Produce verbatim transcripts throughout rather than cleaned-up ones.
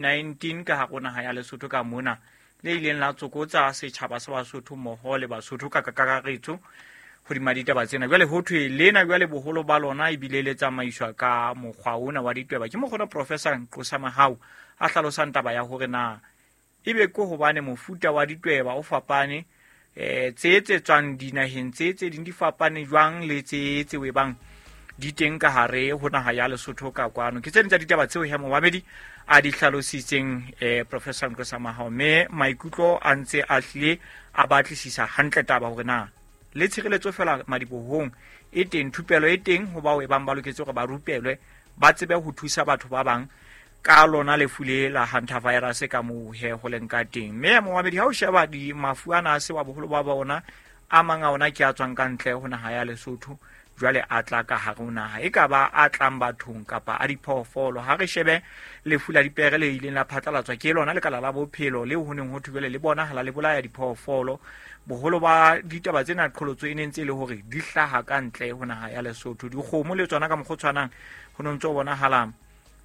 nineteen ka hare ho naha ya Lesotho ka mona, le ileng la tsokotsa setjhaba sa Basotho mmoho le Basotho ka kakaretso hodima ditaba tsena. Jwale ho thwe lena jwale boholo ba lona ebile le tsamaiswa ka mokgwa ona wa ditweba. Ke mokgona Professor Nqosa Mahao a hlalosang taba ya hore na ebe ke hobane mofuta wa ditweba o fapane, eh tse tse tswang dinaheng tse tse ding di fapane jwang le tse tse webang di teng ka hare ho naha ya Lesotho ka kwano. Ke tse ding tsa ditaba tseo he momamedi a di hlalositseng eh Professor Nqosa Mahao, mme maikutlo a ntse a hlile a batlisisa hantle taba hore na le tshireletso fela madibohong e teng, thupelo e teng ho bao e bang ba loketse hore ba rupelwe ba tsebe ho thusa batho ba bang ka lona lefu le la hantavirus ka moo he ho leng ka teng. Mme momamedi ha o sheba di mafu ana a se wa boholo ba bona a mang a ona ke a tswang ka ntle ho naha ya Lesotho, jwale a tla ka hare ho naha, e ka ba a tlang bathong kapa a diphoofolo. Ha re shebe lefu la dipere le ileng la phatlalatswa ke lona lekala la bophelo leo ho neng ho thwe jwale le bonahala le bolaya diphoofolo. Boholo ba ditaba tsena qholotso e ne ntse e le hore di hlaha ka ntle ho naha ya Lesotho. Dikgomo le tsona ka mokgwa o tshwanang ho no ntso bonahala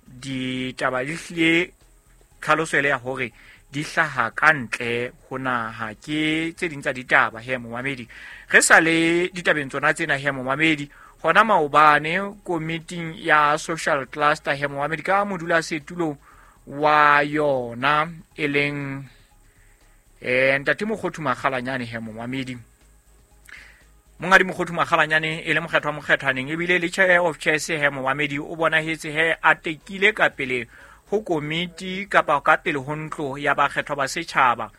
ditaba di hlile tlhaloso ele ya hore di hlaha ka ntle ho naha. Ke tse ding tsa ditaba he momamedi. Re sa le ditabeng tsona tsena he momamedi, hona maobane komiting ya social cluster he momamedi ka modulasetulo wa yona e leng eh ntate Mokgothu Makgalanyane he momamedi. Mongadi Mokgothu Makgalanyane e le mokgethwa mokgethwaneng ebile le chair of chairs he momamedi o bonahetse he a tekile ka pele ho komiti kapa ka pele ho ntlo ya bakgethwa ba setjhaba,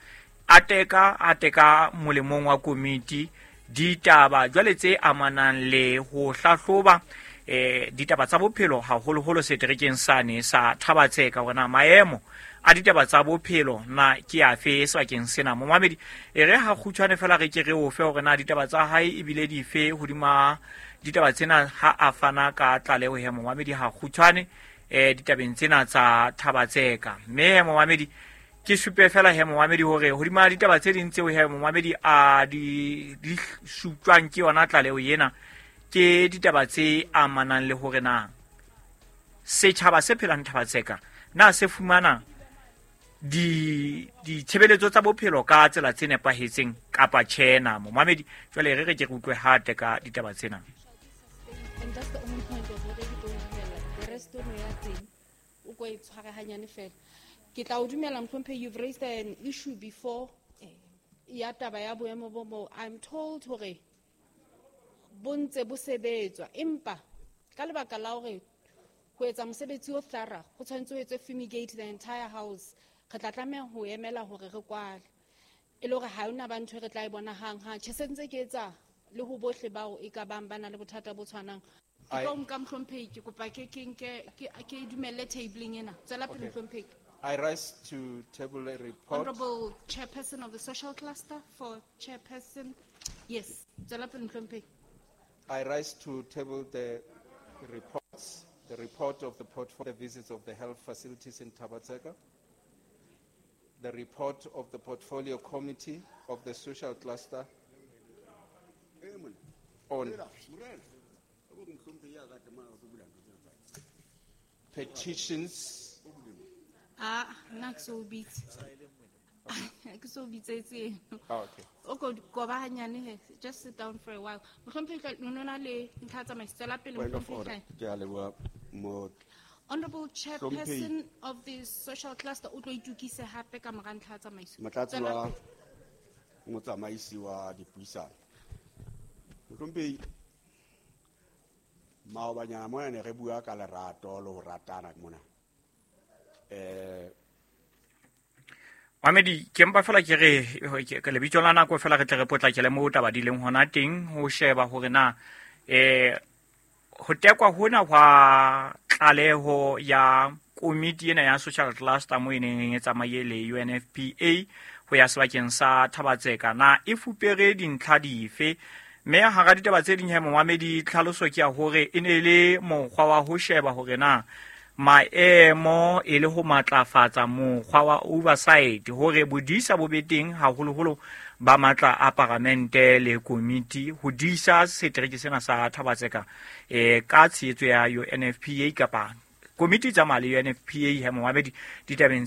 a teka a teka molemong wa komiti ditaba jwale tse amanang le ho hlahloba eh ditaba tsa bophelo haholoholo seterekeng sane sa Thabatseka, hore na maemo a ditaba tsa bophelo na ke afe sebakeng sena. Momamedi e re ha kgutshwane fela re ke re o fe hore na ditaba tsa hae ebile dife hodima ditaba tsena ha a fana ka tlaleho he momamedi ha kgutshwane eh ditabeng tsena tsa Thabatseka. Mme momamedi ke supe fela he momamedi hore hodima ditaba tse ding tseo he momamedi a di di sutlwang ke yona tlaleho ena ke ditaba tse amanang le hore na setjhaba se phelang Thabatseka na se fumana di ditshebeletso tsa bophelo ka tsela tse nepahetseng kapa tjhe na. Momamedi jwale re re ke re utlwe hate ka ditaba tsena. And that's the only point of hore ke tlo dumela. The rest ono ya teng o ko e tshware hanyane fela. Ke tla o dumela Mohlomphehi, you've raised an issue before ya taba ya boemo bo mo. I'm told hore bo ntse bo sebetswa, empa ka lebaka la hore ho etsa mosebetsi o thorough ho tshwanetse ho etswe fumigate the entire house, re tla tlameha ho emela hore re kwale e le hore ha hona ba ntho e re tla e bona hang hang. Tjhe, se ntse ke etsa le ho bohle bao e ka bang ba na le bothata bo tshwanang. Ke tlo nka Mohlomphehi, ke kopa ke ke nke ke ke dumelle tabling ena. Tswela pele Mohlomphehi. I rise to table a report. Honorable Chairperson of the Social Cluster for Chairperson. Yes, tswela pele Mohlomphehi. I rise to table the reports, the report of the portfolio visits of the health facilities in Thabatseka, the report of the portfolio committee of the social cluster on petitions. Ah, nna ke so bitse. Ke so bitsetse eno. Oh, okay. O ko koba hanyane he, just sit down for a while. Mohlomphehi, o nona le ntlha tsa tsamaiso, tswela pele Point of Mohlomphehi. order. Ke a leboha mo Honorable Chairperson of the Social Cluster, o tlo itukise hape ka mora ntlha tsa tsamaiso. Motlatsi Tswela wa pele. motsamaisi wa dipuisano. Mohlomphehi, maobanyana mona ne re bua ka lerato le ho ratana mona. Eh, Mamedi, ke mpa fela ke re ke lebitso la nako fela re tle re potlakele moo taba di leng hona teng ho sheba hore na eh ho tekwa hona hwa tlaleho ya komiti ena ya social cluster mo e neng e tsamaye le U N F P A ho ya sebakeng sa Thabatseka na e fupere dintlha dife. Mme hara ditaba tse ding he momamedi, tlhaloso ke ya hore e ne le mokgwa wa ho sheba hore na maemo e le ho matlafatsa mokgwa wa oversight hore bodisa bo be teng haholoholo ba matla a paramente le komiti ho disa setereke sena sa Thabatseka eh ka tshehetso ya U N F P A kapa komiti tsa mali U N F P A he momamedi ditabeng